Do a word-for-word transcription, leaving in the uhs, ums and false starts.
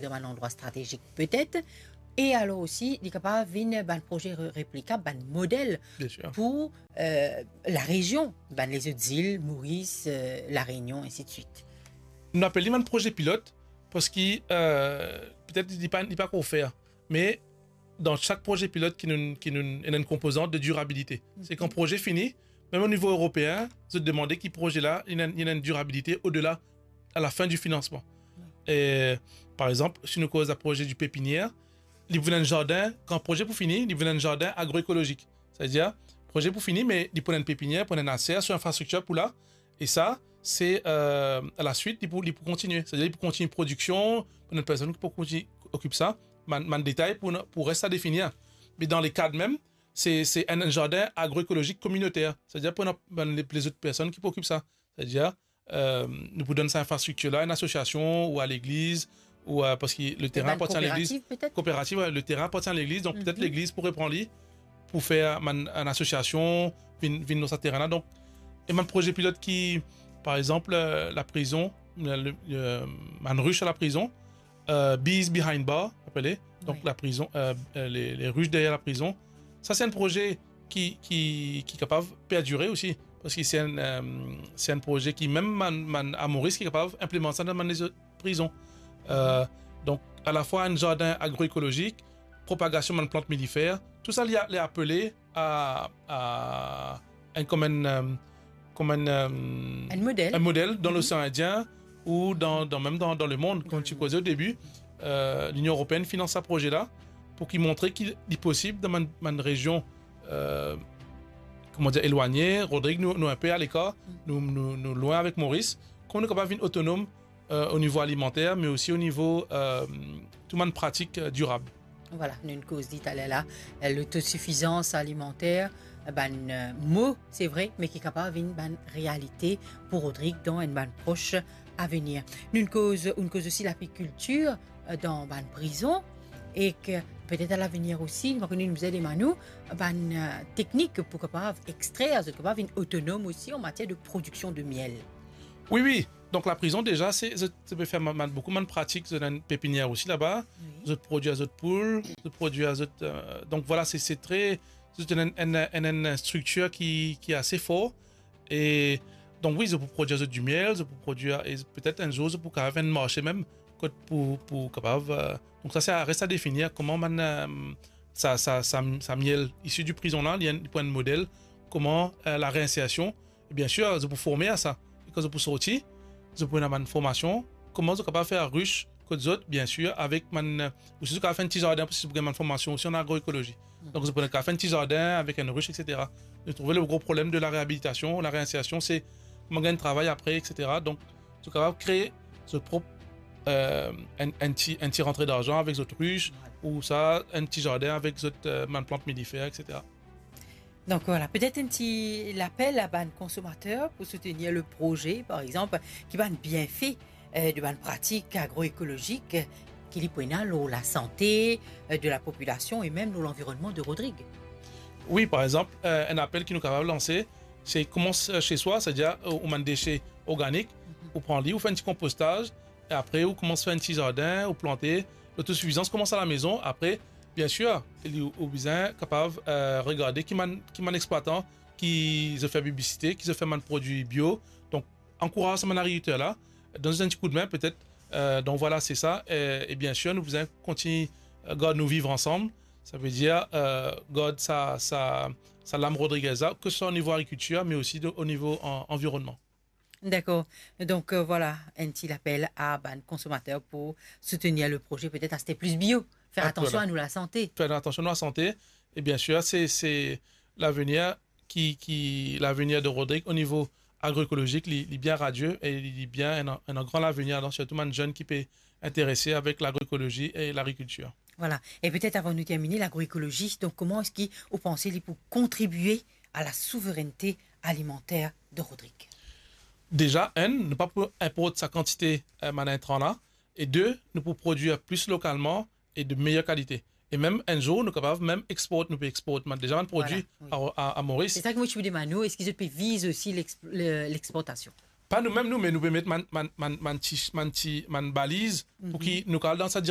dan bann landrwa stratezik petet, e alor osi, li kapav vinn bann proze re-, replikab, bann model Bien sûr. pou, euh, larezion, bann lezot zil, Moris, euh, La Réunion, ainsi de suite. Nou apel li bann proze pilot, parski, euh, petet li pa, li pa ankor fer, me dan sak proze pilot ki nou, ki nou, ena enn konpozant de dirabilite. Se kan proze fini, mem o nivo eropeen, zot demande ki proze la, li ena, li ena enn dirabilite odela, à la fin du financement. E, par exanp, si nou koz a proze di pepinier, li pou vinn enn zardin, kan proze pou fini, li pou vinn enn zardin agroekolozik. Setadir, proze pou fini, me li pou ena enn pepinier, pou ena enn aser, so infrastriktir pou la, e sa, se, euh, a la swit, li pou, li pou kontinie. Setadir, li pou kontinie prodiksion, pou ena enn personn ki pou kontinie okip sa, bann, bann detay pou, pou res a definir. Me dan le kad mem, se, se enn zardin agroekolozik kominoter. Setadir, pou ena bann, le, lezot personn ki pou okip sa. Setadir, euh, nou pou donn sa infrastriktir la, enn asosiasion ou a legliz, ou, euh, parski le terin bann apartien a legliz. Kooperativ, petet? Kooperativ, wi, le terin apartien a legliz, donk petet legliz pou repran li, pou fer bann, enn asosiasion, vinn, vinn dan sa terin la. Donk, e bann proze pilot ki, par exanp, euh, laprizon, le, le, euh, bann ris a laprizon, euh, Bees Behind Bar, apele. Donk, laprizon, euh, euh, le, le ris deryer laprizon. Sa, se enn proze ki, ki, ki kapav perdire osi, parski se enn, euh, se enn proze ki mem bann, bann a Moris ki kapav inplimant sa dan bann lezot prizon. Euh, donk, a la fwa enn zardin agroekolozik, propagasion bann plant milifer, tou sa li a, li apele a, a enn, kom enn, euh, kom enn, euh, enn model. Enn model dan Losean Indien ou dan, dan, mem dan, dan lemond. Kouma ti koze o debi, euh, Linion Eropeenn finans sa proze la pou ki montre ki li posib dan bann, bann rezion, euh, kouma dir, elwagne. Rodrig, nou, nou inpe alekar, nou, nou, nou lwin avek Moris. Kouma nou kapav vinn otonom, euh, o nivo alimanter, me osi o nivo, euh, tou bann pratik, euh, dirab. Vwala, nou koz li taler la, euh, lotosifizans alimanter, euh, bann, euh, mo, se vre, me ki kapav vinn bann realite pou Rodrig dan enn bann pros avenir. Nou koz, nou koz osi lapikiltir, euh, dan bann prizon, e ki petet a lavenir osi, nou pa kone, nou bizin demann ou, bann, euh, teknik pou kapav ekstrer, zot kapav vinn otonom osi an matier de prodiksion de miel. Wi, wi. Donk, laprizon, deza, se, zot, zot pe fer ma-, ma-, boukou bann pratik, zot ena enn pepinier osi laba, wi, zot prodwir zot poul, zot prodwir zot, euh, donk, vwala, se, se tre, zot ena enn, enn, enn, enn striktir ki, ki ase for. E donk, wi, zot pou prodwir zot dimiel, zot pou prodwir, e petet enn zour, zot pou kapav enn marse mem, kot pou, pou kapav, euh, donk, sa, se res a definir, kouma bann, euh, sa, sa, sa, sa miel isi di prizon la, li enn, li pou enn model, kouma, euh, lareinsersion, E biensir, zot pou forme a sa. E kan zot pou sorti, zot pou ena bann formasion, kouma zot kapav fer ris kot zot, biensir, avek bann, osi zot kapav fer enn ti zardin, parski zot pou gagn bann formasion osi an agroekolozi. Donk, zot pou kapav fer enn ti zardin avek enn ris, et cetera. Nou trouve le gro problem de lareabilitasion, lareinsersion, se kouma gagn travay apre, et cetera. Donk, zot kapav kree zot prop, euh, enn, enn ti, enn ti rantre darzan avek zot ris, ou sa, enn ti zardin avek zot, euh, bann plant milifer, et cetera. Donk, vwala, petet enn ti lapel a bann konsomater pou soutenir le proze, par exanp, ki bann bienfe, euh, de bann pratik agroekolozik, euh, ki li pou ena lor lasante, euh, de lapopilasion e mem lor lanvironnman de Rodrig. Wi, par exanp, euh, enn apel ki nou kapav lanse, se koumans, euh, chez soi, setadir, euh, ou bann dese organik, ou pran li, ou fer enn ti konpostaz, e apre, ou koumans fer enn ti zardin, ou plante, lotosifizans koumans alamezon. Apre, biensir, li, ou, ou bizin kapav, euh, regarde ki bann, ki bann explwatan ki zot fer piblisite, ki zot fer bann prodwi bio. Donk, ankouraz sa bann agrikilter la, donn zot enn ti koudme, petet. Euh, donk, vwala, se sa. E, e biensir, nou bizin kontigne, euh, gard nou viv ansam. Savedir, euh, gard sa, sa, sa lam Rodriguez la, ke se swa o nivo agrikiltir, me osi de, o nivo an-, anvironnman. Dakor. Donk, euh, vwala, enn ti lapel a bann konsomater pou soutenir le proze, petet aste plis bio, fer atansion a nou lasante. Fer atansion a nou lasante. E biensir, se, se lavenir ki, ki, lavenir de Rodrig o nivo agroekolozik, li, li bien radie e li, li bien, ena, ena gran lavenir, donk sirtou bann zenn ki pe interese avek lagroekolozi e lagrikiltir. Vwala. E petet avan nou termine, lagroekolozi, donk, kouma eski ou panse li pou kontribie a lasouverennte alimanter de Rodrig? Deza, enn, nou pa pou inport sa kantite, euh, bann intran la. E de, nou pou prodwir plis lokalman e de meyer kalite. E mem enn zour, nou kapav mem export, nou pe export bann, deza bann prodwi a, a, a Moris. Se sa ki mo ti pou demann ou, eski zot pe viz osi l'ex-, le, l'exportasion? pa nou mem nou, me nou pe met bann, bann, bann, bann ti, bann ti, bann baliz, pou ki nou kapav al dan sa